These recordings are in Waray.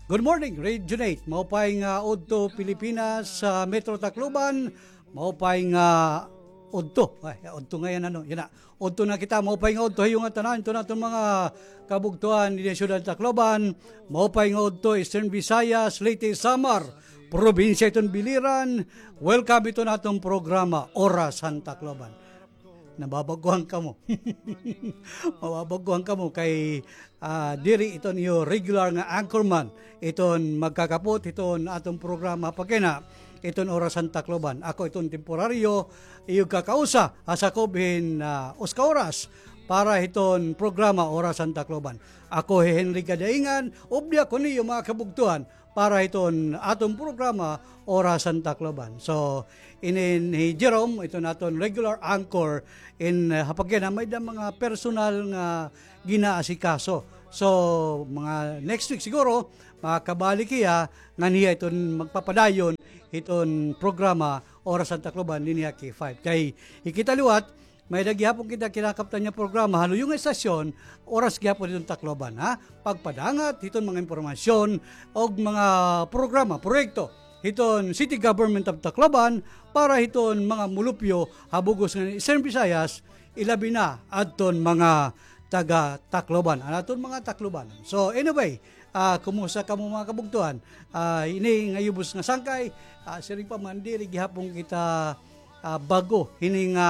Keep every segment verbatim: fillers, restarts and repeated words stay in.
Good morning, Regionate. Maupay nga udto, Pilipinas, sa Metro Tacloban. Maupay nga udto. Ay, udto nga yan, ano, yan na. Udto na kita, maupay nga udto ha iyo ngatanan, iton aton mga kabugtoan dinhi ha syudad han Tacloban. Maupay nga udto, Eastern Visayas, Leyte, Samar, probinsya hiton Biliran. Welcome hiton aton programa, Oras han Tacloban. Nababag-ohan kamo. Mababag-ohan kamo kay, ah, diri iton iyo regular nga anchorman iton magkakapot hiton aton programa pakina iton Oras han Tacloban. Ako iton temporaryo, iyo kakausa, ha sakob hin, ah, usa ka oras para hiton programa Oras han Tacloban. Ako hi Henry Gadaingan, ubya ko niyo mga kabugtoan, para hiton aton programa, Oras han Tacloban. So, inin hi Jerome, iton aton regular anchor, in, uh, ha pagkina may-ada mga personal nga ginaasikaso. So, mga next week siguro, makabalik hiya, ngan hiya iton magpapadayon hiton programa, Oras han Tacloban, dinhi ha K five. Kay, hikita liwat, may-ada gihapon kita kinakaptan nga programa, ha luyo nga estasyon, oras gihapon hiton Tacloban, ha? Pagpadangat hiton mga impormasyon og mga programa, proyekto hiton City Government of Tacloban para hiton mga mulupyo ha bug-os nga Eastern Visayas, ilabi na adton mga taga Tacloban, an aton mga Tacloban. So, anyway, ah, kumusta kamo, mga kabugtoan? Ah, ini nga yubos nga sangkay, ah, siring pa man, diri gihapon kita ah, bag-o hini nga,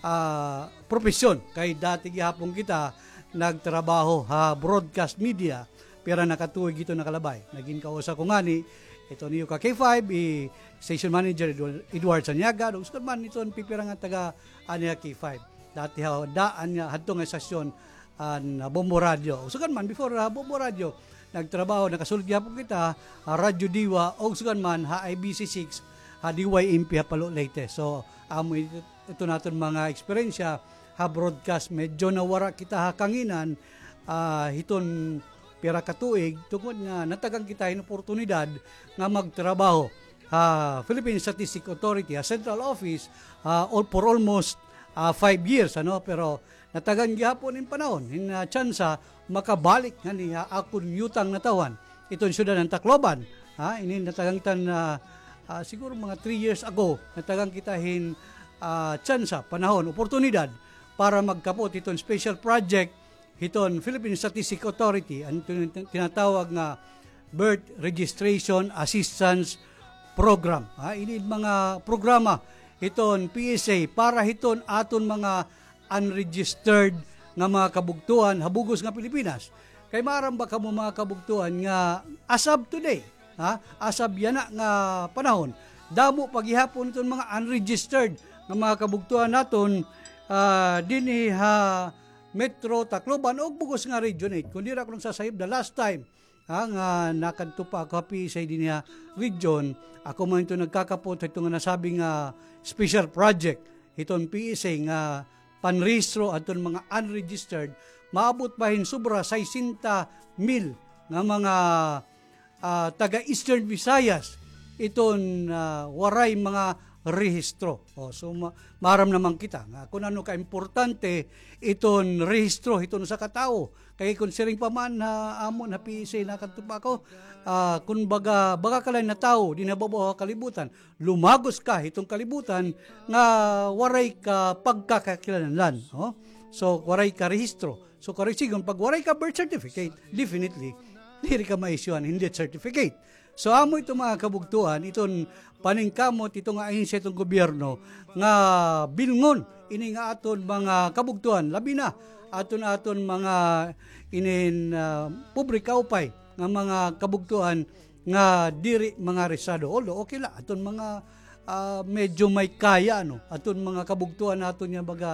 ah, propesyon. Kay dati gihapon kita nagtrabaho ha broadcast media, pira na ka tuig ito nakalabay. Nagin kausa ko ngani, ito niyo ka K five, i station manager Edward, Edward Sanyaga, ug sugad man ito an pipira nga taga ani ha K five. Dati ha daan nga hadto nga estasyon an, ah, Bombo Radio. Ug sugad man, before, ah, Bombo Radio, nagtrabaho, nakasulod gihapon kita, ah, Radyo Diwa, ug sugad man, ha I B C six, ha D Y M P, ha Palo, Leyte. So, amo it-, ito naton mga eksperyensya ha broadcast. Medyo nawara kita ha kanginan, ah, hiton pira ka tuig, tungod nga natagan kita hin oportunidad nga magtrabaho ha Philippine Statistic Authority, ha central office, ah, all, for almost, ah, five years, ano, pero natagan gihapon in panahon, in, ah, tsansa, makabalik ngani ha akon yutang natawhan. Iton syudad han Tacloban, ha, ini natagan kita na, ah, siguro mga three years ago, natagan kita hin, ah, tsansa, panahon, oportunidad para magkapot hiton special project hiton Philippine Statistic Authority, an tin-, tinatawag nga Birth Registration Assistance Program. Ha, ini mga programa hiton P S A para hiton aton mga unregistered nga mga kabugtoan ha bug-os nga Pilipinas. Kay maaram ba kamo, mga kabugtoan, nga as of today, ha, as of yana nga panahon, damo pa gihapon iton mga unregistered nga mga kabugtoan naton, ah, dinhi ha Metro Tacloban ug bug-os nga Region eight. Kon diri ako nagsasayop, the last time, ha, nga nakadto pa ako ha P S A dinhi ha region, ako man ito nagkakapot ha ito nga nasabi nga special project hiton P S A nga panrehistro adton mga unregistered, maabot pa hin sobra sesenta mil nga mga, ah, taga Eastern Visayas iton, ah, waray mga rehistro. O, so, ma-, maaram naman kita nga kun ano kaimportante iton rehistro hiton usa ka tawo. Kay kun siring pa man ha amon ha P S A nakadto pa ako, ah, kun baga, baga ka la nga tawo dinhi ha babaw ha kalibutan, lumagos ka hiton kalibutan nga waray ka pagkakakilanlan, o? So, waray ka rehistro. So, karuyag sidngon, pag waray ka birth certificate, definitely, diri ka ma-issue-an hin death certificate. So, amo ito, mga kabugtoan, iton paningkamot, ito nga ahensya, iton gobyerno, nga bilngon ini nga aton mga kabugtoan, labi na aton, aton mga inin, ah, pobre kaupay nga mga kabugtoan nga diri mga rehistrado. Although, okay la, aton mga, ah, medyo may kaya, ano, aton mga kabugtoan naton nga baga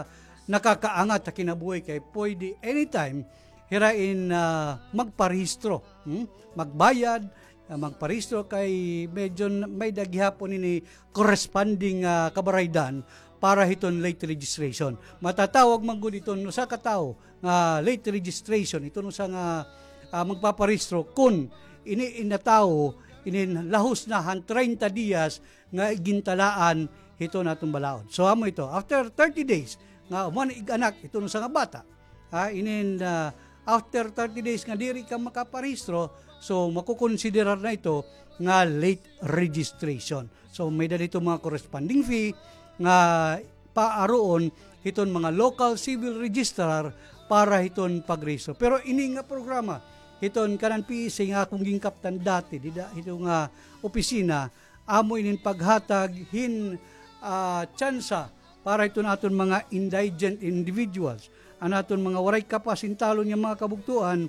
nakakaangat ha kinabuhi kay pwede anytime hira in, ah, magparehistro, hmm? Magbayad, ah, magparehistro kay medyo n-, may-ada gihapon ini corresponding, ah, kabaraydan para hiton late registration. Matatawag man gud iton usa ka tawo nga late registration, iton usa nga, ah, magpaparehistro kun ini, ini nga tawo, inin lahos na han treinta dias nga igintalaan hiton aton balaod. So, amo ito, after thirty days, nga human ig-anak iton usa nga bata, ha, inin, ah, After thirty days nga diri ka makaparehistro, so makukonsiderar na ito nga late registration. So may-ada ito mga corresponding fee nga paaruon hiton mga local civil registrar para hiton pagrehistro. Pero ini nga programa hiton kanan P S A nga akon ginkaptan dati dida hito nga opisina, amo inin paghatag hin, ah, tsansa para hiton aton mga indigent individuals, an aton mga waray kapas hin talon nga mga kabugtoan,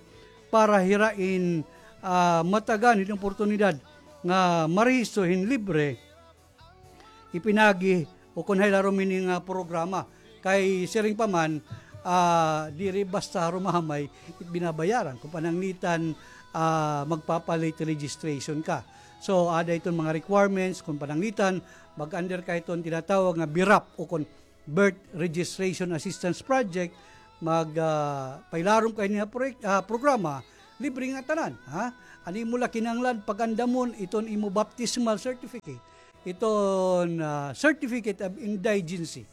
para hira in, ah, matagan hin oportunidad nga marehistro hin libre, ipinagi o kon hay larom ini nga programa. Kay siring pa man, ah, diri basta harumamay it binabayaran. Kon pananglitan, ah, magpapa-late registration ka. So, ada iton mga requirements, kon pananglitan, mag-under ka hiton tinatawag nga BRAP o kon Birth Registration Assistance Project, mag, ah, pailarom ka hini nga proyek-, ah, programa, libre nga tanan, ha? An imo la kinahanglan pag-andamon iton imo baptismal certificate, iton, ah, certificate of indigency,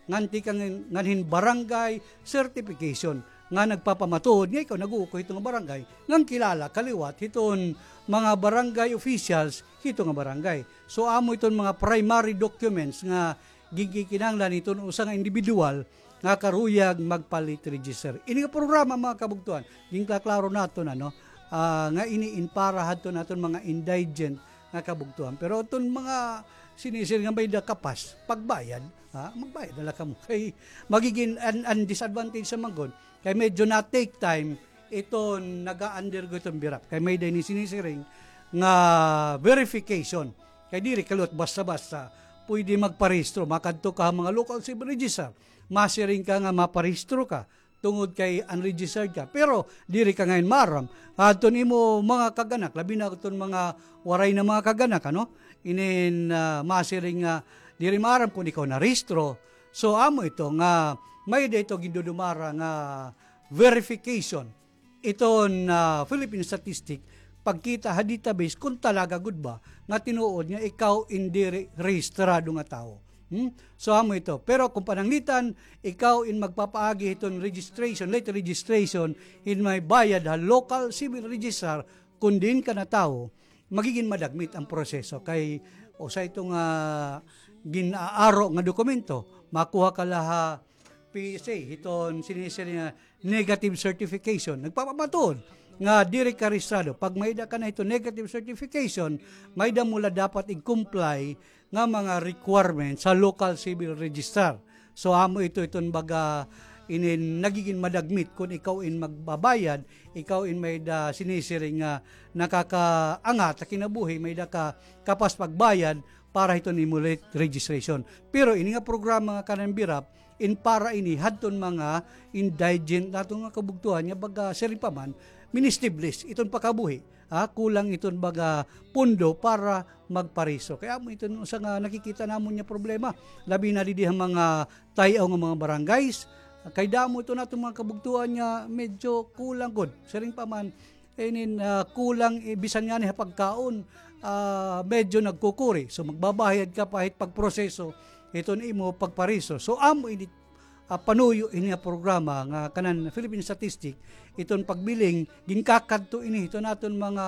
ngan tikang ngan hin barangay certification nga nagpapamatuod nga ikaw nag-uukoy hito nga barangay, ngan kilala ka liwat hiton mga barangay officials hito nga barangay. So, amo iton mga primary documents nga ginkikinahanglan hiton usa nga individual nga karuyag magpa-late register. Ini nga programa, mga kabugtoan, ginkaklaro naton, ano, ah, nga ini in para hadton aton mga indigent nga kabugtoan. Pero iton mga sinisiring nga may-ada kapas, pagbayad, ha, magbayad na la kamo. Kay magigin an, an disadvantage sa man gud, kay medyo na-take time iton naga-undergo iton BRAP. Kay may-ada ini sinisiring nga verification. Kay diri ka liwat basta-basta pwede magparehistro. Makadto ka ha mga local civil register, masiring ka nga maparehistro ka tungod kay unregistered ka. Pero diri ka ngay-an maaram. Adton imo mga kag-anak, labi na adton mga waray na mga kag-anak, ano? Inin, ah, masiring nga diri maaram kon ikaw narehistro. So, amo ito nga may-ada ito gindudumara nga verification iton, ah, Philippine Statistic, pagkita ha database kon talaga gud ba nga tinuod nga ikaw in diri rehistrado nga tawo. Hmm? So, amo ito. Pero kon pananglitan, ikaw in magpapaagi hiton registration, late registration, hin may bayad ha local civil registrar, kon diin ka natawo, magigin madagmit an proseso. Kay usa ito nga gin-aaro nga dokumento, makuha ka la ha P S A, hiton sinisiring nga negative certification. Nagpapamatuod nga diri ka rehistrado. Pag may-ada ka na hiton negative certification, may-ada mo la dapat i-comply nga mga requirements sa local civil registrar. So, amo ito, iton baga inin nagigin madagmit kon ikaw in magbabayad, ikaw in may-ada sinisiring nga nakakaangat ha kinabuhi, may-ada ka kapas pagbayad para hiton imo late registration. Pero ini nga programa nga kanan BRAP, in para ini hadton mga indigent naton nga kabugtoan nga baga siring pa man, ministibles iton pakabuhi, ha, kulang iton baga pondo para magparehistro. Kay amo iton usa nga nakikita namon nga problema, labi na didi ha mga tay-aw nga mga barangays. Kay damo iton aton mga kabugtoan nga medyo kulang gud. Siring pa man, inin, ah, kulang, eh, bisan ngani ha pagkaon, ah, medyo nagkukuri. So, magbabayad ka pa hit pagproseso hiton imo pagparehistro. So, amo ini, ah, panuyo ini nga programa nga kanan Philippine Statistic, iton pagbiling, ginkakadto ini hiton aton mga,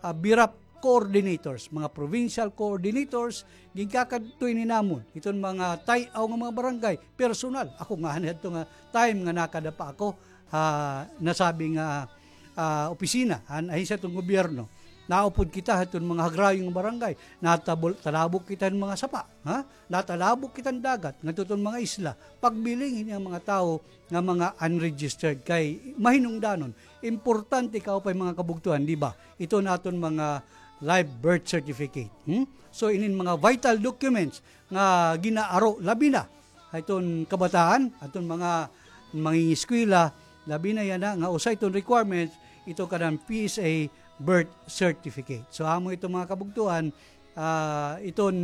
ah, BRAP coordinators, mga provincial coordinators, ginkakadto ini namon hiton mga tay-aw nga mga barangay, personal. Ako ngani hadto nga time nga nakada pa ako, ha, nasabi nga, ah, opisina, han ahensya hiton gobyerno. Naupod kita hiton mga hagrayo nga barangay. Natabol-, talabok kita hin mga sapa, ha? Natalabok kita hin dagat ngadto hiton mga isla. Pagbiling hini an mga tawo nga mga unregistered kay mahinungdanon. Importante kaupay, mga kabugtoan, di ba? Iton aton mga live birth certificate. Hmm? So, inin mga vital documents nga ginaaro, labi na ha iton kabataan, aton mga mangingiskwela, labi na yana nga usa iton requirements, ito kanan P S A birth certificate. So, amo ito, mga kabugtoan, ah, iton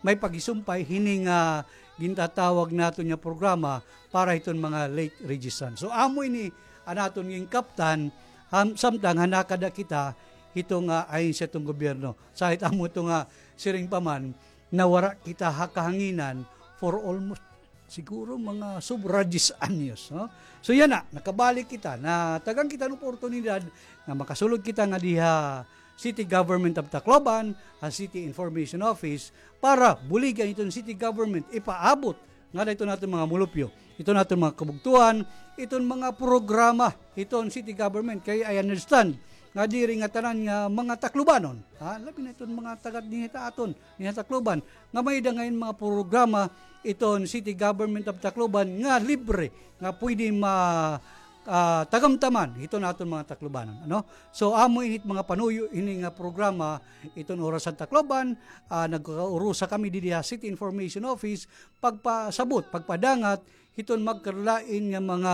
may paghisumpay hini nga gintatawag naton nga programa para hiton mga late registrant. So, amo ini an aton ginkaptan, ham-, samtang ha nakada kita hito nga ahensya hiton gobyerno. Sa hit amo ito nga siring pa man, nawara kita ha kahanginan for almost siguro mga sobra diyes anyos, no? So yana, nakabalik kita, natagan kita hin oportunidad nga makasulod kita nga diha City Government of Tacloban, ha City Information Office, para buligan iton City Government, ipaabot ngada iton aton mga mulupyo, iton aton mga kabugtuan, iton mga programa iton City Government. Kay I understand nga diri nga tanan nga mga Taclobanon, ha, labi na iton mga taga dinhi ha aton, dinhi ha Tacloban, nga may-ada ngay-an mga programa iton City Government of Tacloban nga libre, nga pwede ma-, ah, tagamtaman hiton aton mga Taclobanon, ano? So, amo ini it mga panuyo hini nga programa iton Oras han Tacloban. Ah, nagkaurusa kami didi ha City Information Office, pagpasabot, pagpadangat hiton magkarulain nga mga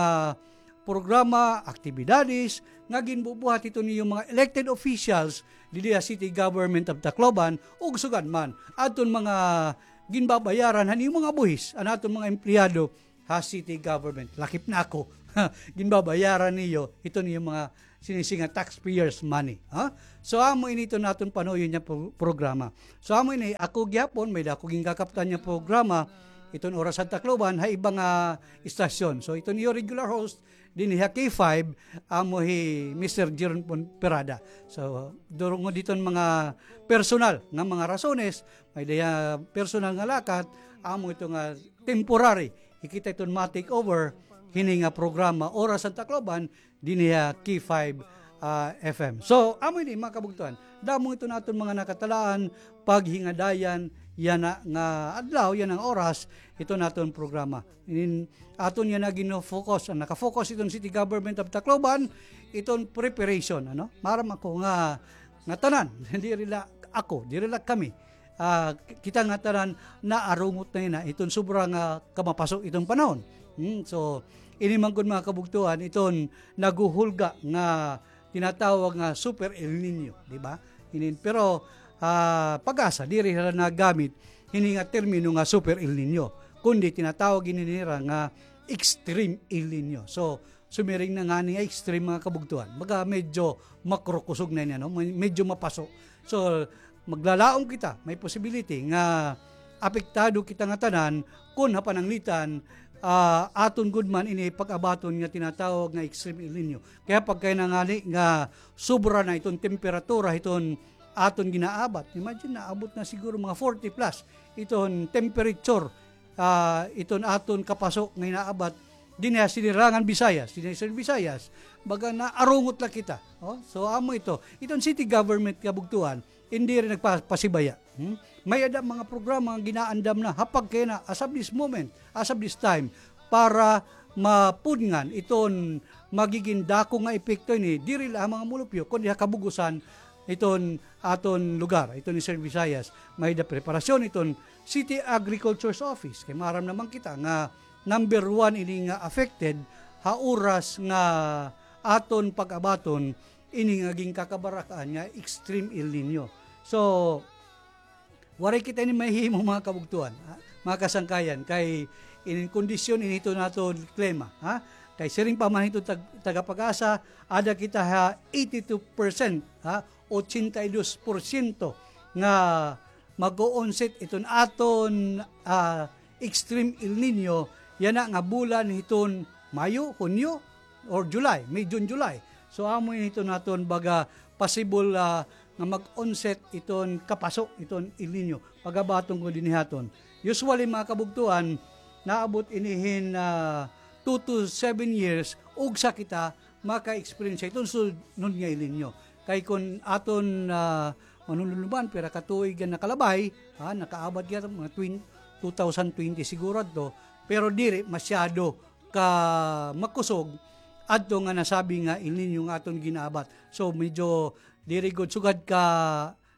programa, aktibidades nga ginbubuhat hiton iyo mga elected officials didi ha City Government of Tacloban, ug sugad man adton mga ginbabayaran han iyo mga buhis, an aton mga empleyado ha city government. Lakip na ako. Ginbabayaran niyo, ito niyo mga sinisi nga taxpayers' money, ha? So, amo ini iton aton panuyo nga pro-, programa. So, amo ini, ako gihapon, may-ada ako ginkakaptan nga programa, iton Oras han Tacloban, ha iba nga istasyon. So, iton iyo regular host, dinhi ha K five, amo hi Mister Jeron Ponferrada. So, durungod hiton mga personal nga mga rasones, may-ada hiya personal nga lakat, amo ito nga temporary hi kita iton ma-take over hini nga programa, Oras han Tacloban, dinhi ha K five, ah, F M. So, amo ini, mga kabugtuan. Damo iton aton mga nakatalaan, paghingadayan, yana nga adlaw, yana nga oras, iton aton programa. Inin, aton yana gino-focus, an naka-focus iton City Government of Tacloban, iton preparation, ano? Maaram ako nga, nga tanan, diri la ako, diri la kami. Ah, ki-, kita ngatanan naarungot na yana iton sobra nga kamapaso iton panahon. Hmm, so, ini man gud, mga kabugtuan, iton naghuhulga nga tinatawag nga Super El Niño, di ba? Inin, pero, ah, PAGASA, diri hira nagamit hini nga termino nga Super El Niño, kundi tinatawag ini nira nga Extreme El Niño. So, sumiring na ngani nga extreme, mga kabugtuan. Baga medyo makrukusog na ini, ano? May-, medyo mapaso. So, maglalaom kita, may possibility nga apektado kita ngatanan kon ha pananglitan, ah, aton gud man ini pag-abaton nga tinatawag nga Extreme El Niño. Kay pagkay na ngani nga sobra na iton temperatura, iton aton ginaabat. Imagine, naabot na siguro mga forty plus iton temperature, ah, iton aton kapaso nga inaabat dinhi ha Sinirangan Visayas, dinhi ha Visayas, baga naarungot la kita. Oh, so, amo ito. Iton city government kabugtuan, hindi rin nagpapasibaya. Hmm? May-ada mga programa nga ginaandam na, ha pagkay na, as of this moment, as of this time, para mapudngan iton magigin dako nga epekto ini, diri la ha mga mulupyo, kundi ha kabug-osan iton aton lugar, iton Eastern Visayas. May-ada preparasyon iton City Agriculture's Office. Kay maaram naman kita nga number one ini nga affected ha oras nga aton pag-abaton ini nga ginkakabarakaan nga Extreme El Niño. So, waray kita ini mahihimo, mga kabugtuan, ha, mga kasangkayan, kay inin kondisyon ini iton aton klima, ha? Kay siring pa man hiton tag-, taga PAGASA, ada kita ha eighty-two percent, ha? Ochenta y dos porsyento nga mag-o-onset iton aton, ah, Extreme El Niño, yana nga bulan hiton Mayo, Hunyo, or July, May, June, July. So, amo ini iton aton baga possible, ah, nga mag-onset iton kapaso, iton El Niño. Pag-abaton ko dinhi ha aton. Usually, mga kabugtuan, naabot ini hin, ah, two to seven years, ugsa kita maka-experience iton sunod nga El Niño. Kay kon aton, ah, manunuluban, pira ka tuig nga nakalabay, ha, nakaabat kita mga twen-, two thousand twenty siguro adto, pero diri masyado ka makusog adto nga nasabi nga El Niño nga aton ginaabat. So, medyo diri gud sugad ka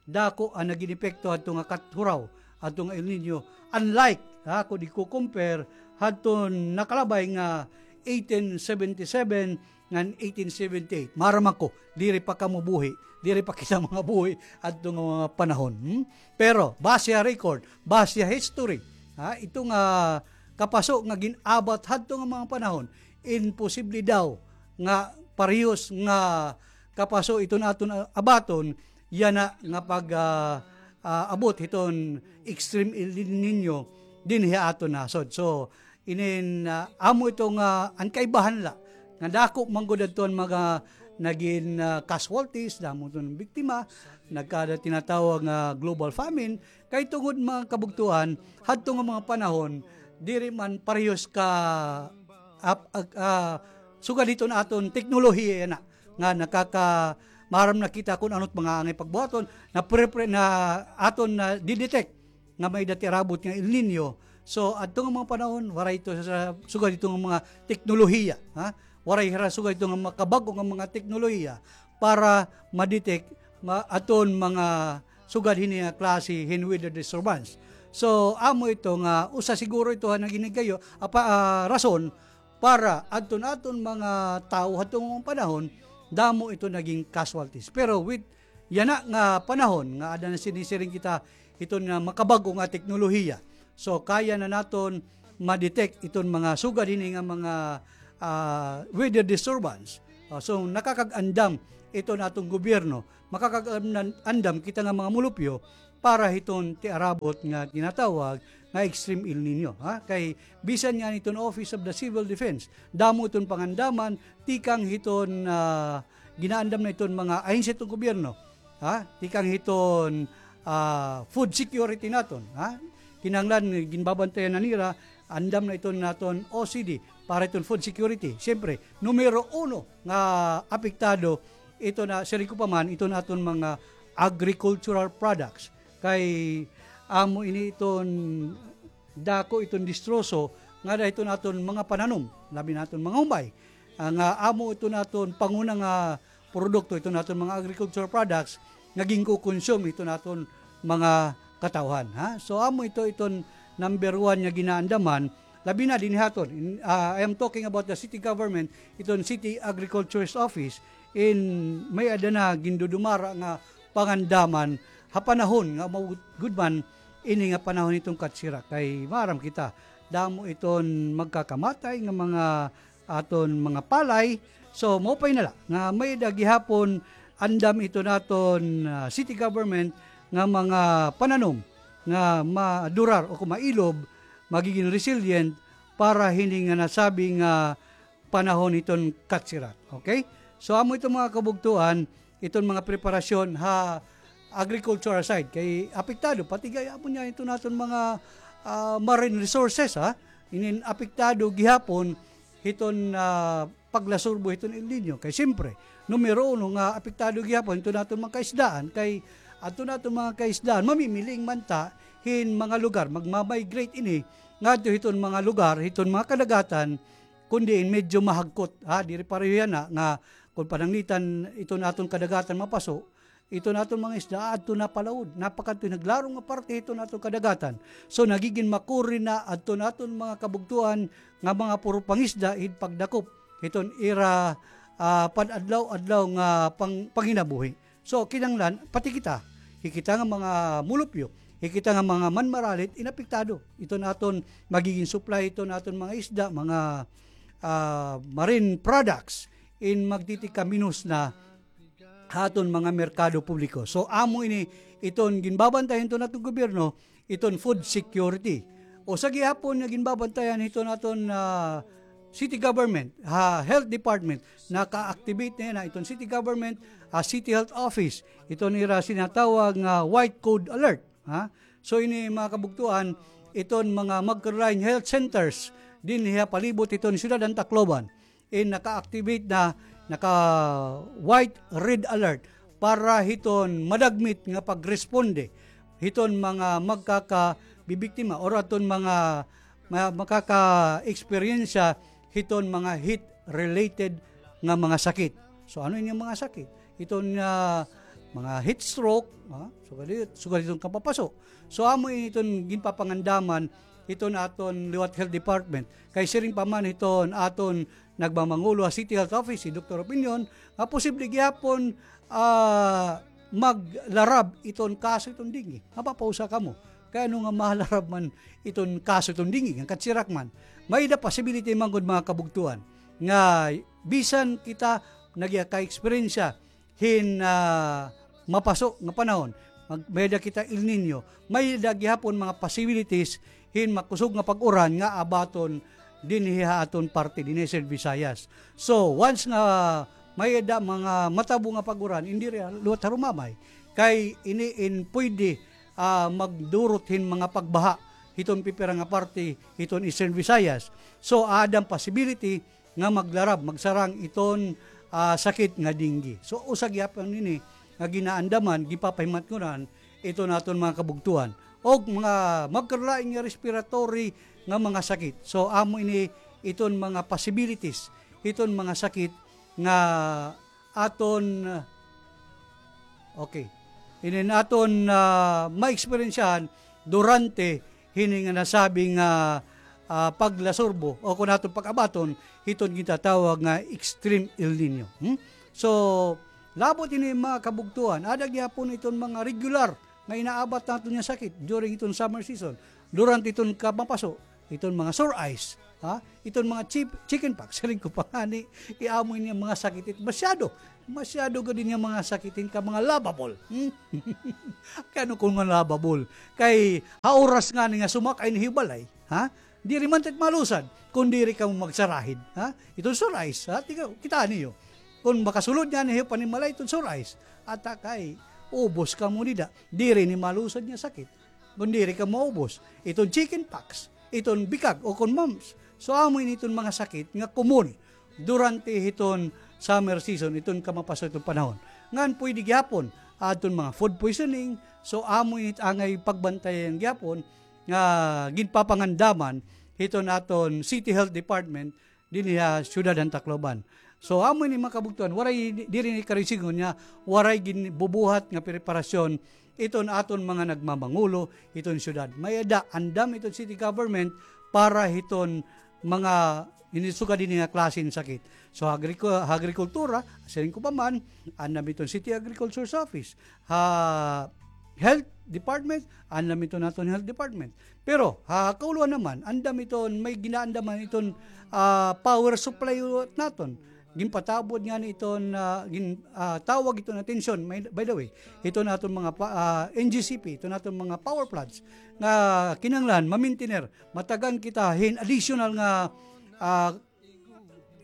dako an nagin epekto hadto nga kathuraw, hadto nga El Niño. Unlike, ha, kon iko-compare hadton nakalabay nga eighteen seventy-seven ngan eighteen seventy-eight. Maaram ako, diri pa kamo buhi, diri pa kita mga buhi hadto nga mga panahon. Hmm? Pero, base ha record, base ha history, ha, ito nga kapaso nga gin-abat hadto nga mga panahon, imposible daw nga parehos nga kapaso iton aton, ah, abaton, yana nga pag, ah, ah, abot hiton Extreme El Niño dinhi ha aton nasod. So, Inin, ah, amo ito nga an kaibahan la nga dako man gud adto an mga nagin, ah, casualties, damo iton biktima, nagkada tinatawag nga global famine, kay tungod mga kabugtuan, hadto nga mga panahon, diri man parehos ka, ap-, ag-, ah, sugad hiton aton teknolohiya yana, nga nakaka-, maaram na kita kun ano't mga angay pagbuhaton, na pre-, pre-, na aton na didetect nga may-ada ti arabot nga El Niño. So, adto nga mga panahon, waray ito sa, sugad ito nga mga teknolohiya, ha? Waray hira sugad ito nga makabag-o nga mga teknolohiya para ma-detect ma-, aton mga sugad hini nga klase hin weather disturbance. So, amo ito nga usa siguro ito ha nagin higayo, apa, ah, rason para adton aton mga tawo hadto nga panahon, damo ito nagin casualties. Pero with yana nga panahon nga ada na sinisiring kita hiton nga makabag-o nga teknolohiya. So, kaya na naton ma-detect iton mga sugad hini nga mga, ah, weather disturbance. Ah, so, nakakag-andam iton aton gobyerno, makakag-andam kita nga mga mulupyo para hiton ti arabot nga tinatawag nga extreme El Niño, ha? Kay bisan nga hiton Office of the Civil Defense, damo iton pangandaman tikang hiton, ah, ginaandam na iton mga ahensya hiton gobyerno, ha? Tikang hiton, ah, food security naton, ha? Kinahanglan, ginbabantayan na nira, andam na iton naton O C D para iton food security. Siyempre, numero uno nga apektado, ito na, siring ko pa man, iton aton mga agricultural products. Kay amo ini iton dako iton distroso nga ada hiton aton mga pananom, labi na aton mga humbay. Ah, nga amo iton aton panguna nga produkto, iton aton mga agricultural products nga ginko-consume iton aton mga katawhan, ha? So, amo ito iton number one nga ginaandaman, labi na dinhi haton. In, ah, I am talking about the city government, iton City Agriculturist Office, in may-ada na gindudumara nga pangandaman ha panahon nga mao gud man ini nga panahon hiton katsira. Kay maaram kita, damo iton magkakamatay nga mga aton mga palay. So, maupay na la nga may-ada gihapon andam iton aton, ah, city government nga mga pananom nga madurar o kung mailob, magigin resilient para hini nga nasabi nga panahon hiton katsirat. Okay? So, amo iton mga kabugtuan, iton mga preparasyon ha agricultural side. Kay apektado, pati gayapon niya iton aton mga, ah, marine resources, ha? Inin apektado gihapon hiton, ah, paglasurbo hiton El Niño. Kay siyempre, numero uno nga apektado gihapon hiton aton mga kaisdaan, kay adton aton mga kaisdaan, mamimiling man ta hin mga lugar, magma-migrate ini ngadto hiton mga lugar, hiton mga kadagatan, kun diin medyo mahagkot, ha, diri pareho yana nga kun pananglitan iton aton kadagatan mapaso, iton aton mga isda adto na palaod, napakadto naglarong nga parte hiton aton kadagatan. So, nagigin makuri na adton aton mga kabugtuan nga mga puro pangisda hin pagdakop hiton ira, ah, pan-adlaw-adlaw nga pang-, panginabuhi. So, kinahanglan, pati kita, hi kita nga mga mulupyo, hi kita nga mga manmaralit, inapektado. Iton aton magigin supply, iton aton mga isda, mga, ah, marine products, in magtitikaminos na ha aton mga merkado publiko. So, amo ini iton ginbabantayan hiton aton gobyerno, iton food security. Usa gihapon nga ginbabantayan hiton aton, ah, city government, ha, health department, naka-activate na yana iton city government, ah, city health office. Iton ira sinatawag nga white code alert, ha? So, ini mga kabugtuan, iton mga magka-relying health centers dinhi ha palibot hiton siyudad han Tacloban. In naka-activate na, naka-white, red alert para hiton madagmit nga pagresponde hiton mga magkakabibiktima or aton mga ma-, makaka-eksperyensya hiton mga heat-related nga mga sakit. So, ano ini nga mga sakit? Iton, ah, mga heat stroke, ha? Sugad it-, sugad iton kapapaso. So, amo ini iton ginpapangandaman iton aton liwat health department. Kay siring pa man hiton aton nagmamangulo ha City Health Office, hi Doktor Opinion, nga posible gihapon, ah, maglarab iton kaso iton dengue. Nga papausa kamo. Kay ano nga malarab man iton kaso iton dengue, nga katsirak man. May-ada possibility man gud, mga kabugtuan, nga bisan kita nagkaka-eksperyensya hin, ah, mapaso nga panahon, mag-, may-ada kita El Niño, may-ada gihapon mga possibilities hin makusog nga pag-uran nga abaton dinhi ha aton parte, dinhi ha Eastern Visayas. So, once nga may-ada mga matabo nga pag-uran, indi diri liwat harumamay. Kay ini in pwede, ah, magdurot hin mga pagbaha hiton pipira nga parte hiton Eastern Visayas. So, aada an possibility nga maglarab, magsarang iton, ah, sakit nga dengue. So, usa gihapon ini nga ginaandaman, gipapahimatngonan iton aton mga kabugtoan. Og mga magkarulain nga respiratory nga mga sakit. So, amo ini iton mga possibilities, iton mga sakit nga aton, okay. Inin aton, ah, maeksperiensyahan durante hini nga nasabi nga, ah, paglasurbo o kon aton pag-abaton hiton gintatawag nga extreme El Niño. Hmm? So, labot hini mga kabugtoan, aada gihapon iton mga regular nga inaabat naton nga sakit during iton summer season, durante iton kamapaso, iton mga sore eyes, ha? Iton mga chip-, chicken pox, siring ko pa ngani, iamo ini nga mga sakit, it-, masyado, masyado gud ini nga mga sakit, hin ka mga lavable. Hmm? Kay ano kon nga lavable? Kay ha oras ngani nga sumakay na hibalay, ha? Diri man ta it malusad, kon diri kamo magsarahid, ha? Iton sore eyes, ha? Tika, kitaa niyo. Kon makasulod ngani hiyo panimalay iton sore eyes, ata kay ubos kamo dida. Diri ini malusad nga sakit. Kon diri ka maubos, iton chicken pox, iton bikag, o kon mumps. So, amo ini iton mga sakit nga common durante hiton summer season, iton kamapaso iton panahon. Ngan pwede gihapon, adton mga food poisoning. So, amo ini it angay pagbantayan gihapon nga ginpapangandaman hiton aton City Health Department dinhi ha siyudad han Tacloban. So, amo ini mga kabugtoan, waray di-, diri ni karoy sidngon nga waray ginbubuhat nga preparasyon iton aton mga nagmamangulo hiton siyudad. May-ada andam iton city government para hiton mga ini sugad ini nga klase hin sakit. So, ha agriko-, ha agrikultura, siring ko pa man, andam iton city agriculture's office. Ha health department, andam iton aton health department. Pero ha kauluhan naman, andam iton, may ginaandaman iton, ah, power supply naton. Ginpatabod ngani iton, ah, gin-, ah, tawag iton atensyon, may, by the way, iton aton mga pa-, ah, N G C P, iton aton mga power plants nga kinahanglan ma-maintainer. Matagan kita hin additional nga, ah,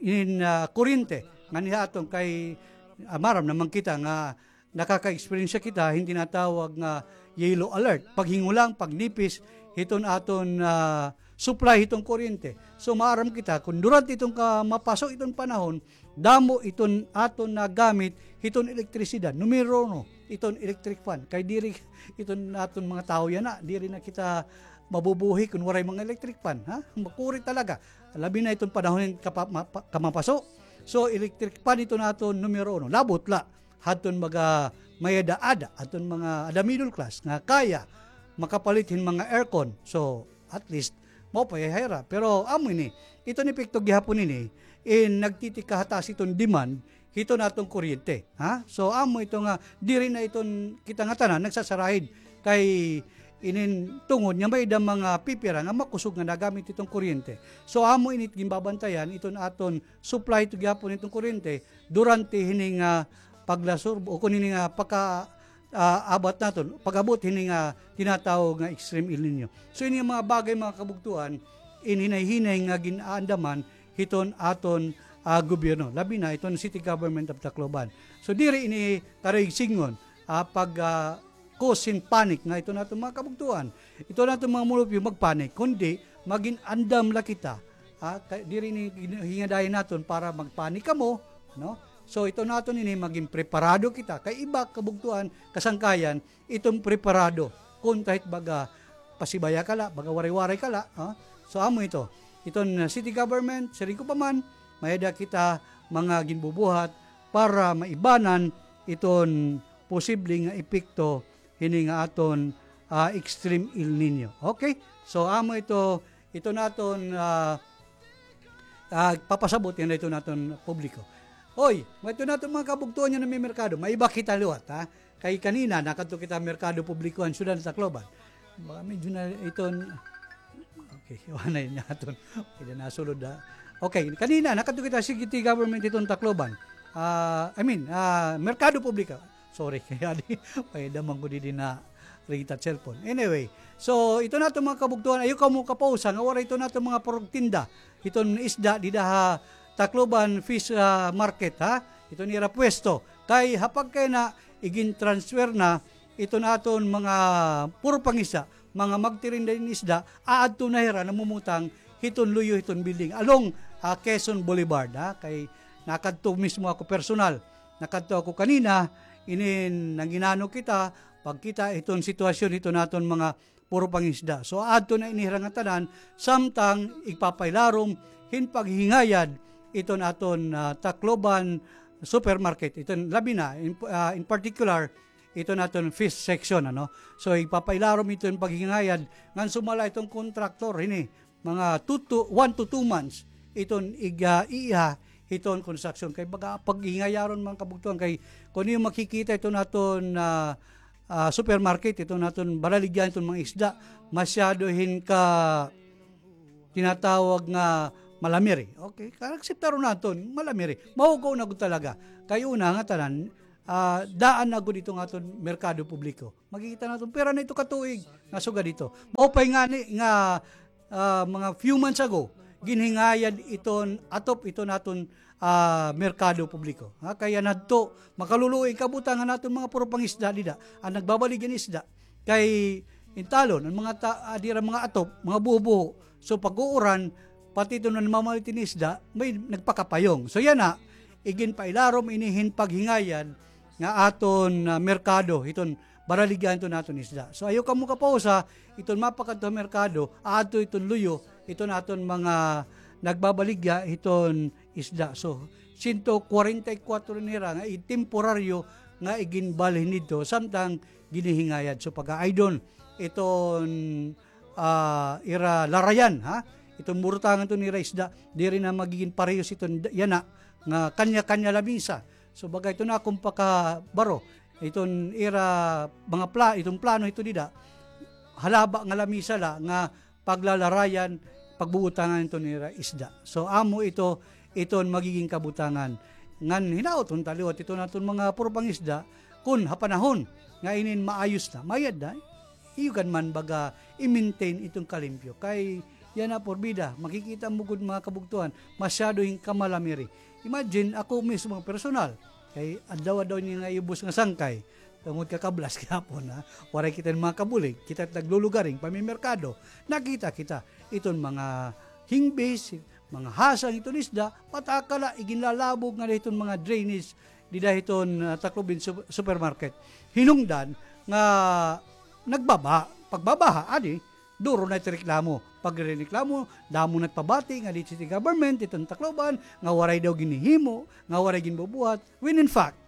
in, ah, kuryente nganhi ha aton kay, ah, maaram naman kita nga nakaka-experience kita hin tinatawag nga yellow alert, paghingulang, pagnipis hiton aton, ah, supply hiton kuryente. So, maaram kita kon durante iton kamapaso iton panahon, damo iton aton nagamit hiton elektrisidad. Numero uno, iton electric fan. Kay diri iton aton mga tawo yana, diri na kita mabubuhi kon waray mga electric fan, ha? Makuri talaga. Labi na iton panahon hin kapa-, ma-, pa-, kamapaso. So, electric fan iton aton numero uno. Labot la hadton mga may-ada-ada, hadton mga ada middle class nga kaya makapalit hin mga aircon. So, at least, maupay ha ira. Pero amo ini, iton epekto gihapon ini, in nagtitikahataas iton demand hiton aton kuryente, ha? So, amo ito nga, diri na iton kita ngatanan nagsasarahid kay inin tungod nga may-ada mga pipira nga makusog nga nagamit iton kuryente. So, amo ini it ginbabantayan iton aton supply to gihapon iton kuryente durante hini nga paglasurbo o kon hini nga pagka, ah, abat naton, pag-abot hini nga tinatawag nga extreme El Niño. So, ini nga mga bagay, mga kabugtoan, in hinay-hinay nga gin-aandaman hiton aton, ah, gobyerno, labi na iton City Government of Tacloban. So, diri ini karoy sidngon, ah, pag, ah, cause hin panic nga iton aton mga kabugtoan, iton aton mga mulupyo magpanic, kundi magin-andam la kita, ah, kay diri ini gin-, hingadayon naton para magpanic kamo, no? So, iton aton ini magin preparado kita. Kay iba kabugtoan, kasangkayan, iton preparado. Kon kahit baga pasibaya ka la, baga waray-waray ka la, ha? So, amo ito. Iton, uh, city government, siring ko pa man, may-ada kita mga ginbubuhat para maibanan iton posible nga epekto hini nga aton, ah, extreme El Niño. Okay? So, amo ito, iton aton, ah, ah, papasabot yana iton aton publiko. Oy, may iton aton mga kabugtoan nga namimerkado. May iba kita liwat, ha? Kay kanina, nakadto kita merkado publiko han syudad han Tacloban. Baka medyo na iton, okay, iwanan niya aton. Pwede na sulod, ha? Okay, kanina, nakadto kita city government iton Tacloban. Ah, I mean, ah, merkado publiko. Sorry, kay adi, may damang ko didi na ringit it cellphone. Anyway, so, ito naton mga kabugtoan, ayaw kamo kapausa nga waray ito naton mga purog tinda. Iton isda dida ha Tacloban Fish, ah, Market, ha? Iton ira puwesto. Kay ha pagkayana, igin-transfer na iton aton mga puro pangisda, mga magtirinda hin isda, aadto na hira namumutang hiton luyo hiton building along, ah, Quezon Boulevard, ha? Kay nakadto mismo ako personal. Nakadto ako kanina, inin nanginano kita, pagkita hiton sitwasyon hiton aton mga puro pangisda. So, aadto na ini hira ngatanan, samtang igpapailarom hin paghingayad iton aton, ah, Tacloban Supermarket. Iton labi na, in, ah, in particular, iton aton fish section, ano. So, igpapailarom iton paghingayad ngan sumala iton kontraktor hini, mga two to, one to two months iton iga-, iiha hiton construction. Kay baga paghingayaron, mga kabugtoan, kay kon iyo makikita iton aton, ah, ah, supermarket, iton aton baraligyan iton mga isda, masyado hin ka tinatawag nga malamiri. Okay, kaakseptaron naton, malamiri. Mahugaw na gud talaga. Kay una ngatanan, ah, daan na gud iton aton merkado publiko. Makikita naton, pira na ito katuig nga sugad ito. Maupay ngani nga, ah, mga few months ago, ginhingayad iton atop iton aton, ah, merkado publiko. Ha, kay yana adto, makaluluoy kabutangan naton mga puro pangisda dida, an nagbabaligya hin isda. Kay in talon, an mga ta-, ah, dira mga atop, mga buho-buho. So, pag-uuran, pati iton namamalit hin isda, may nagpakapayong. So, yana, iginpailarom ini hin paghingayad nga aton, ah, merkado, iton baraligyan iton aton isda. So, ayaw kamo kapausa, iton mapakadto ha merkado, aadto iton luyo, iton aton mga nagbabaligya iton isda. So, sento kwarenta y kuwatro nira nga i-, temporaryo nga iginbalhin didto, samtang ginhihingayad. So, pag-aaydon iton, ah, ira larayan, ha? Iton burutangan iton ira isda, diri na magigin parehos iton d-, yana, nga kanya-kanya lamisa. So, baga ito na akon pakabaro. Iton ira mga pla-, iton plano ito dida, halaba nga lamisa la nga paglalarayan, pagbubutangan iton ira isda. So, amo ito, iton magigin kabutangan. Ngan hinaot unta liwat iton aton mga puro pangisda, kun ha panahon nga inin maayos na, mayad na, iyo gad man baga i-maintain iton kalimpyo. Kay yana purbida, makikita mo gud mga kabugtoan, masyado hin kamalamiri. Imagine, ako mismo personal, kay adlaw-adlaw ini nga iubos nga sangkay, tungod kakablas gihapon, ha. Waray kita hin mga kabulig, kita naglulugaring, pamimerkado. Nakita kita, iton mga hingbis, mga hasang iton isda, pataka la, iginlalabog ngada hiton mga drainage, dida hiton, ah, Tacloban Sup-, Supermarket. Hinungdan nga nagbabaha, pagbabaha, adi, duro na it reklamo. Pagreklamo, damo nagpabati ngadi city government, iton Tacloban, nga waray daw ginhihimo, nga waray ginbubuhat. When in fact,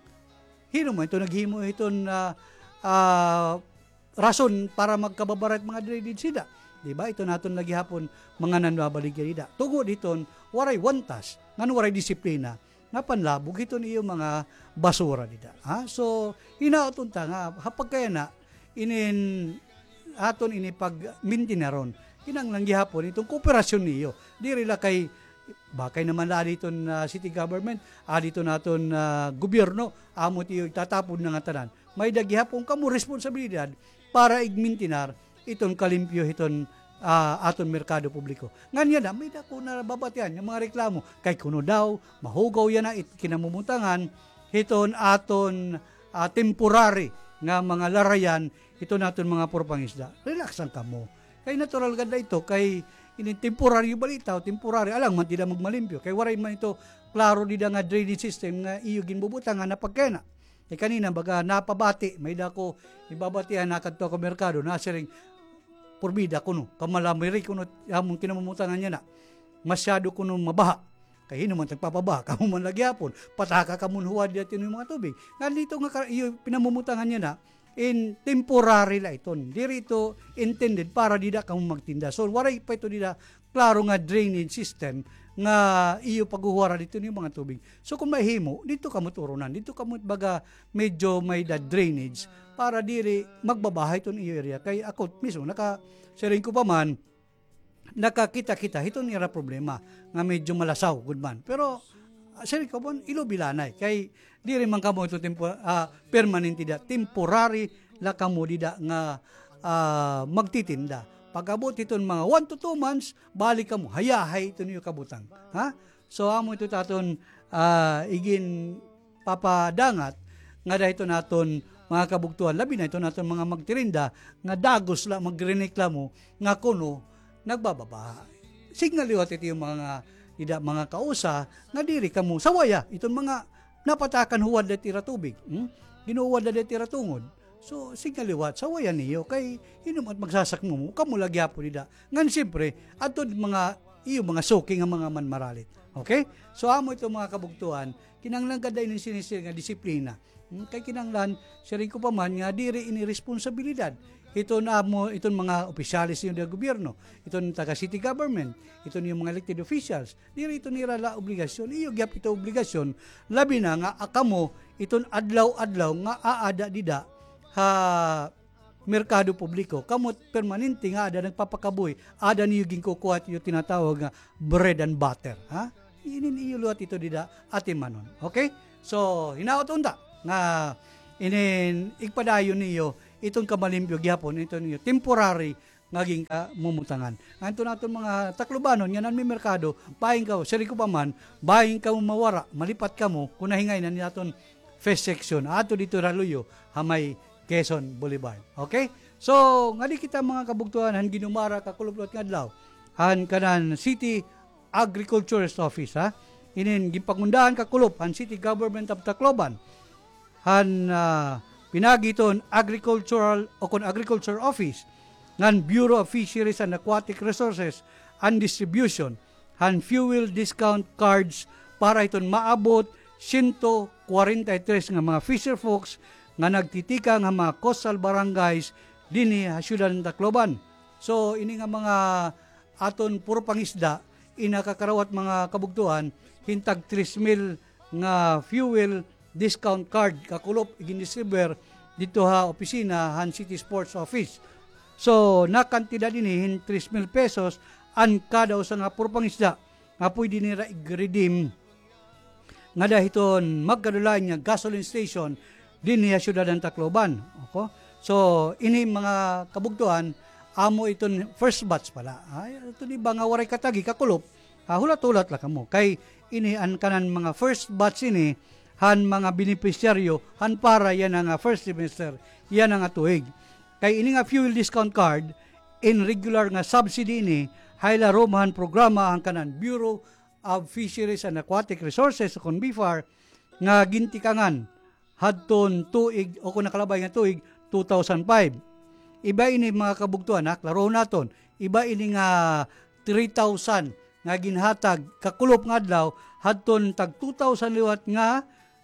hin-o man ito naghimo hiton, ah, ah, rason para magkababara it mga drainage dida? Di ba? Iton aton la gihapon mga nanbabaligya dida. Tungod hiton waray wantas, ngan waray disiplina nga panlabog hiton iyo mga basura dida. Ha? So, hinaot unta nga, ha pagkayana, inin aton ini pagmintinar-on. Kinahanglan gihapon iton kooperasyon niyo. Diri la kay, bakay naman la adi iton, ah, city government, adi iton aton, ah, gobyerno, amo it iyo itatapon na ngatanan. May-ada gihapon kamo responsibilidad para igmintinar iton kalimpyo hiton, ah, aton merkado publiko. Ngan yana, may-ada ko nababatian nga mga reklamo. Kay kuno daw, mahugaw yana it kinamumutangan hiton aton, ah, temporary nga mga larayan hiton aton mga puro pangisda. Relax lang kamo. Kay natural gad la ito, kay inin temporaryo bala ito, temporary, alang man it ida magmalimpyo. Kay waray man ito klaro dida nga drainage system nga iyo ginbubutangan ha pagkayana. Eh, kanina, baga napabati, may-ada ko ibabatian, nakadto ako merkado, nasiring, purbida kuno, kamalamiri kuno, amon kinamumutangan yana. Masyado kuno mabaha. Kay hin-o man it nagpapabaha, kamo man la gihapon. Pataka kamo hin huwad dida hiton iyo mga tubig. Ngan dito nga ka-, iyo pinamumutangan yana, in temporary la iton. Diri ito intended para dida kamo magtinda. So, waray pa ito dida klaro nga drainage system nga iyo paghuhuwara didto niyo mga tubig. So, kon mahimo, didto kamo turunan, didto kamo baga medyo may-ada drainage para diri magbabaha iton iyo area. Kay ako mismo, naka-, siring ko pa man, nakakita kita hiton ira problema nga medyo malasaw gud man. Pero Ah, siring ko man, ilubilanay. Kay diri man kamo ito tempo-, ah, permanente dida. Temporary la kamo dida nga, ah, magtitinda. Pag-abot hiton mga one to two months, balik kamo. Hayahay ito niyo kabutang. Ha? So, amo ito it aton, ah, igin papadangat ngada hiton aton mga kabugtoan, labi na hiton aton mga magtirinda nga dagos la magrereklamo nga kuno nagbababa. Siring nga liwat ito iyo mga, ida, mga kausa nga diri kamo sawaya, iton mga napatakan huwad la it ira tubig, hmm? Ginuhuwad la it ira tungod. So, siring nga liwat, sawayan niyo, kay hin-o man it magsasakmo mo, kamo la gihapon dida. Ngan siyempre, adto mga iyo mga suki nga mga manmaralit. Okay? So, amo ito mga kabugtoan, kinahanglan gad ini sini-, sir, nga disiplina. Hmm, kay kinahanglan, siring ko pa man nga diri ini responsibilidad hiton amo, iton mga opisyales niyo nga gobyerno, iton taga city government, iton iyo mga elected officials, diri ito nira la obligasyon, iyo gihap ito obligasyon, labi na nga, ah, kamo, iton adlaw-adlaw nga aada dida ha merkado publiko, kamo permanente nga aada nagpapakabuhi, aada niyo ginkukuha it iyo tinatawag nga bread and butter, ha? Inin iyo liwat ito dida atimanon. Okay? So, hinaot unta nga inin igpadayon niyo iton kamalimpyo gihapon, iton iyo temporary nga ginkamumutangan. Ngan iton aton mga Taclobanon nga nanmimerkado, bahin kaw, siring ko pa man, bahin kamo mawara, malipat kamo, kon nahingayon an aton fish section. Adto didto ha luyo, ha may Quezon Boulevard. Okay? So, ngadi kita mga kabugtoan, han ginumara kakulop liwat nga adlaw, han kanan City Agriculturist Office, ha? Inin ginpangundahan kakulop han City Government of Tacloban. Han, ah, pinaagi hiton agricultural o kon agriculture office ngan Bureau of Fisheries and Aquatic Resources and Distribution, han fuel discount cards para hiton maabot siyento kwarenta y tres nga mga fisher folks nga nagtitikang ha mga coastal barangays dinhi ha siyudad han Tacloban. So, ini nga mga aton puro pangisda, ini nakakarawat mga kabugtoan, hin tag tres mil nga fuel discount card kakulop igindistribuer didto ha opisina han City Sports Office. So, nakantidad ini hin tres mil pesos an kada usa nga puro pangisda nga pwede nira i-redeem ngada hiton magkadulayan nga gasoline station dinhi ha siyudad han Tacloban. Opo. So, ini mga kabugtoan, amo iton first batch pa la. Ay, iton iba nga waray katagi, kakulop, ah, hulat-hulat la kamo. Kay ini an kanan mga first batch ini, han mga benepisyaryo, han para yana nga first semester, yana nga tuig. Kay ini nga fuel discount card, in regular nga subsidy ini, ha ilarom han programa han kanan Bureau of Fisheries and Aquatic Resources, o kon BFAR, nga gintikangan hadton tuig, o kon nakalabay nga tuig, two thousand five. Iba ini mga kabugtoan, ha, klarohon naton. Iba ini nga three thousand nga ginhatag kakulop nga adlaw, hadton tag two thousand liwat nga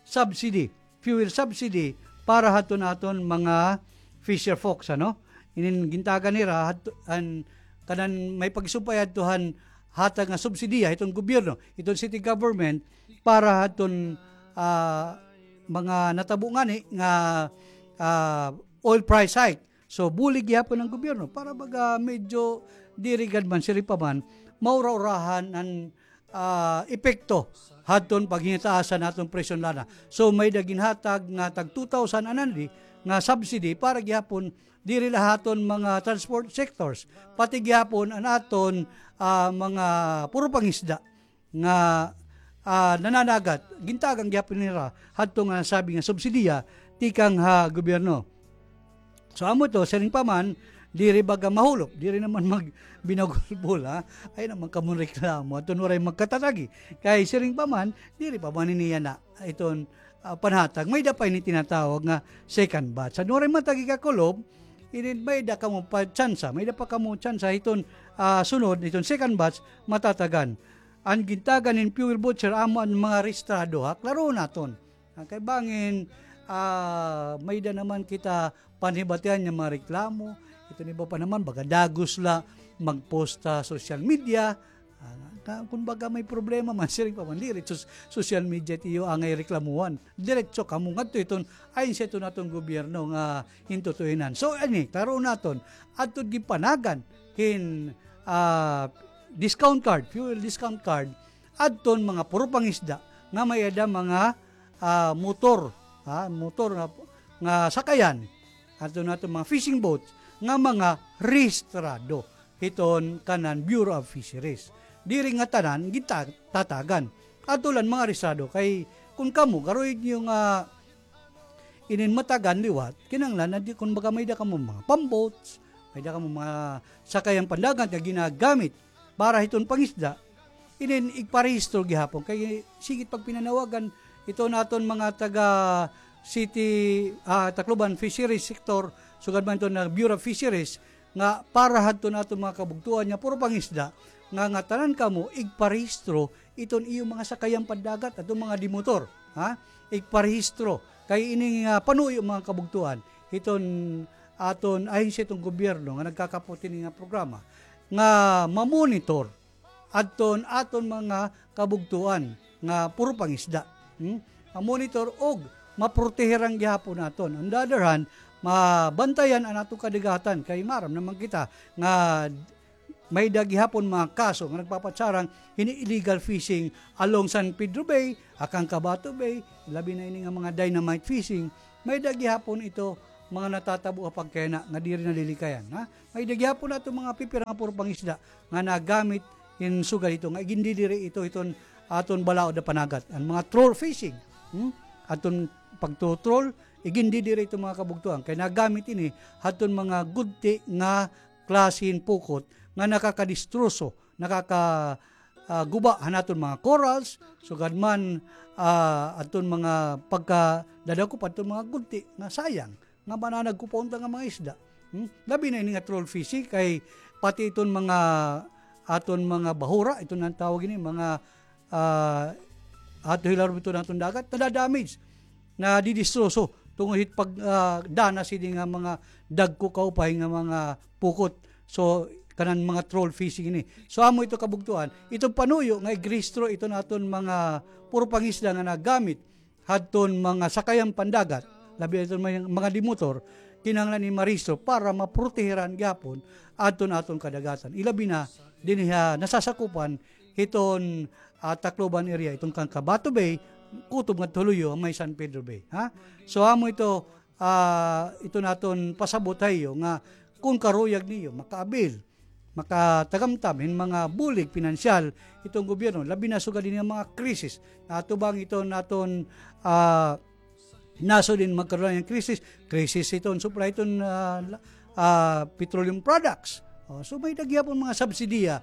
subsidy, fuel subsidy, para hadton aton mga fisher folks, ano? Inin gintagan nira, hadto, an, kanan may pagsumpay hadto han hatag nga subsidiya hiton gobyerno, hiton city government, para hadton, ah, mga natabo ngani nga, ah, oil price hike. So, bulig gihapon an gobyerno para baga medyo diri gad man, siring pa man, maura-urahan an, ah, epekto hadton paghingataas han aton presyo han lana. So, may-ada ginhatag nga tag two thousand anandi nga subsidy para gihapon diri la ha aton mga transport sectors, pati gihapon an aton, ah, mga puro pangisda nga, ah, nananagat, gintagan gihapon nira hadto nga nasabi nga subsidiya tikang ha gobyerno. So, amo ito, siring pa man, diri baga mahulop, diri naman magbinagulbol, ha? Ay naman kamo reklamo, adton waray magkatatagi. Kay siring pa man, diri pa man ini yana, iton, ah, panhatag. May-ada pa ini tinatawag nga second batch. Adton waray matagi kakulop, ini may-ada kamo pa tsansa, may-ada pa kamo tsansa hiton, ah, sunod, hiton second batch, matatagan. An gintagan hin fuel voucher amo an mga rehistrado, ha? Klarohon naton. Ah, kay bangin, ah, may-ada naman kita panhibatian nga mga reklamo. Iton iba pa naman, baga dagos la mag-post ha social media. Ah, ka-, kun baga may problema man, siring pa man, diri sus-, social media it iyo angay reklamuhan. Diretso kamo ngadto hiton, ayon sa iton aton gobyerno nga hintutuinan. So, ani, klarohon naton, adto ginpanagan hin, ah, discount card, fuel discount card, adton mga puro pangisda, nga may-ada mga, ah, motor, ha, motor nga, nga sakayan, aton, aton mga fishing boats nga mga rehistrado hiton kanan Bureau of Fisheries. Diri nga tanan gintatagan. Ato la mga rehistrado kay kun kamo, karuyag niyo nga inin matagan liwat, kinahanglan na di, kun baga may-ada kamo mga pamboats, may-ada kamo mga sakayan pandagat nga ginagamit para hiton pangisda, inin igparehistro gihapon. Kay sige it pagpinanawagan, iton aton mga taga City, ah, Tacloban Fisheries Sector, sugad man iton na Bureau of Fisheries, nga para hadton aton mga kabugtoan nga puro pangisda, nga ngatanan kamo igparehistro iton iyo mga sakayan pandagat, aton mga dimotor, ha? Igparehistro. Kay ini nga panuyo, mga kabugtoan, hiton aton ahensya, hiton gobyerno nga nagkakapot hini nga programa, nga mamonitor adton aton mga kabugtoan nga puro pangisda. Hmm? Mamonitor og maprotehiran gihapon naton. On the other hand, mabantayan an aton kadagatan kay maaram naman kita nga may-ada gihapon mga kaso nga nagpapatsarang hini illegal fishing along San Pedro Bay, ha Cancabato Bay, labi na ini nga mga dynamite fishing, may-ada gihapon ito mga natatabo ha pagkayana nga diri nalilikayan, ha? May-ada gihapon aton mga pipira nga puro pangisda nga nagamit hin sugad hito nga igindidiri ito hiton aton balaod ha panagat. An mga troll fishing, hmm? Aton pagto-troll, igindidiri ito, mga kabugtoan, kay nagamit ini hadton mga gudti nga klase hin pukot nga nakakadistroso, nakaka, ah, guba han aton mga corals, sugad man, ah, aton mga pagkadadakop hadton mga gudti nga sayang nga mananagkupaon ta nga mga isda. Hmm? Labi na ini nga troll fishing kay pati iton mga aton mga bahura, iton an tawag ini, mga, ah, ato hilarom iton aton dagat, nadadamage, nadidistroso tungod hit pag, ah, danas hini nga mga dagko kaupay nga mga pukot. So, kanan mga troll fishing ini. So, amo ito kabugtoan, ito panuyo nga igrehistro iton aton mga puro pangisda nga nagamit hadton mga sakayan pandagat, labi na iton mga, mga dimotor, kinahanglan ini marehistro para maprotehiran gihapon adton aton kadagatan. Ilabi na dinhi ha nasasakupan hiton, ah, Tacloban area, iton Cancabato Bay, kutob ngadto ha luyo, may San Pedro Bay, ha? So, amo ito, ah, iton aton pasabot ha iyo nga kun karuyag niyo makaabil, makatagamtam hin mga bulig pinansyal iton gobyerno, labi na sugad hini nga mga krisis. Natubang iton aton, ah, nasod hin magkaroon hin krisis, krisis iton supply iton, ah, la-, ah, petroleum products. O, so may-ada gihapon mga subsidiya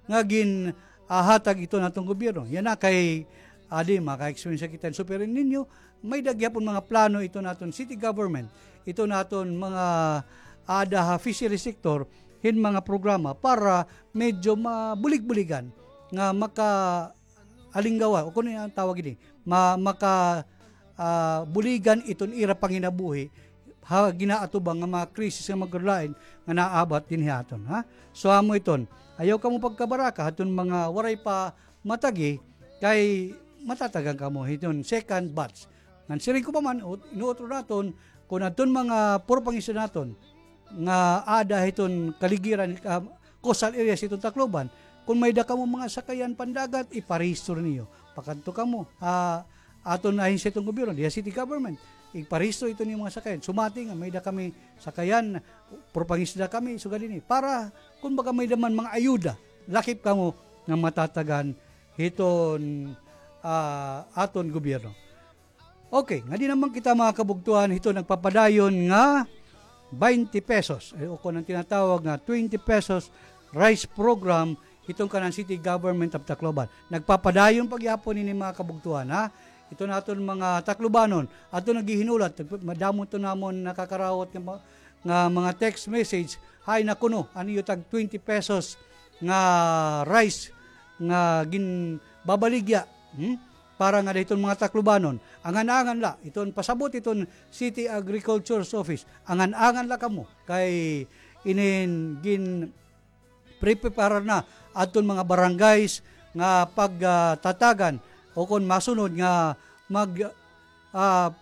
nga gin, ah, hatag iton aton gobyerno. Yana kay, adi, maka-experience kita hin Super El Niño, may-ada gihapon mga plano iton aton city government, iton aton mga aada ha fishery sector, hin mga programa para medyo mabulig-buligan nga maka-, alinggawa, o kun ano an tawag ini, ma-, maka, ah, buligan iton ira panginabuhi ha ginaatubang nga mga krisis nga magkalain nga naabat dinhi ha aton, ha? So, amo iton, ayaw kamo pagkabaraka hadton mga waray pa matagi, kay matatagan kamo hiton second batch. Ngan siring ko pa man, ut-, inuutro naton, kun adton mga puro pangisda naton, nga aada hiton kaligiran, ah, coastal areas hiton Tacloban, kun may-ada kamo mga sakayan pandagat, iparehistro niyo. Pakadto kamo, ah, aton ahensya hiton gobyerno, diha city government, iparehistro iton iyo mga sakayan. Sumati nga may-ada kami sakayan, puro pangisda kami, sugad hini. Para, kun baga may-ada man mga ayuda, lakip kamo nga matatagan hiton, ah, aton gobyerno. Okay, ngadi naman kita, mga kabugtoan, hito nagpapadayon nga twenty pesos, eh, o kun an tinatawag nga twenty pesos rice program, hiton kanan City Government of Tacloban. Nagpapadayon pa gihapon ini, mga kabugtoan, ha? Iton aton mga Taclobanon, aton naghihinulat, madamo iton namon nakakarawat nga ma-, nga mga text message, hay naku no, an iyo tag twenty pesos nga rice nga ginbabaligya, hmm? Para ngada hiton mga Taclobanon. Angan-angan la, iton pasabot iton City Agriculture's Office. Angan-angan la kamo kay inin ginpreparar na adton mga barangays nga pag, ah, tatagan o kon masunod nga mag, ah,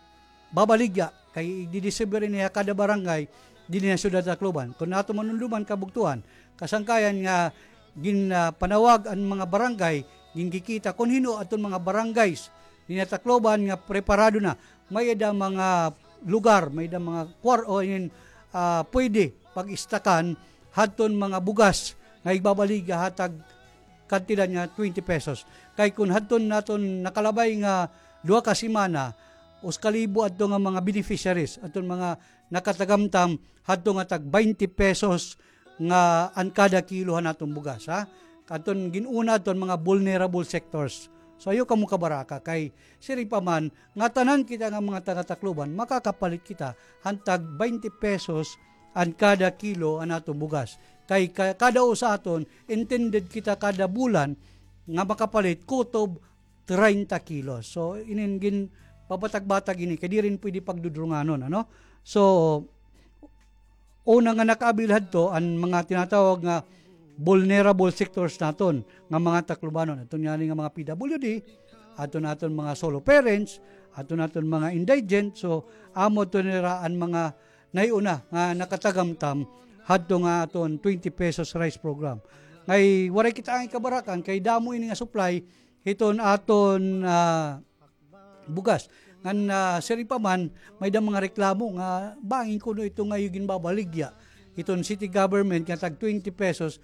babaligya, kay igdidistribuyar ini ha kada barangay dinhi ha Syudad Tacloban. Kon aton manumduman, kabugtoan, kasangkayan nga gin, ah, panawag an mga barangay, ginkikita kon hin-o adton mga barangays dinhi ha Tacloban nga preparado na. May-ada mga lugar, may-ada mga kwar-, o inin, ah, pwede pag-istakan hadton mga bugas nga igbabaligya ha tag kantidad nga twenty pesos. Kay kun hadton naton nakalabay nga duha ka semana, usa ka libo adto nga mga beneficiaries, adton mga nakatagamtam hadto nga tag baynte pesos nga an kada kilo han aton bugas, ha? Adton gin-una adton mga vulnerable sectors. So, ayaw kamo kabaraka kay siring pa man nga tanan kita nga mga taga-Tacloban, makakapalit kita han tag baynte pesos an kada kilo an aton bugas. Kay ka-, kada usa aton, intended kita kada bulan nga makapalit kutob treinta kilos. So, inin ginpabatag-batag ini, kay diri pwede pagdudrunganon, ano? So, una nga nakaabil hadto, an mga tinatawag nga vulnerable sectors naton, nga mga Taclobanon. Adton ngani nga mga P W D, adton, adton mga solo parents, adton, adton mga indigent. So, amo adto nira an mga nahiuna nga nakatagamtam hadto nga aton twenty pesos rice program. Ngay waray kita angay kabarakan, kay damo ini nga supply hiton aton, ah, bugas. Ngan, ah, siring pa man, may-ada mga reklamo nga bangin kuno ito nga iyo ginbabaligya hiton city government nga tag twenty pesos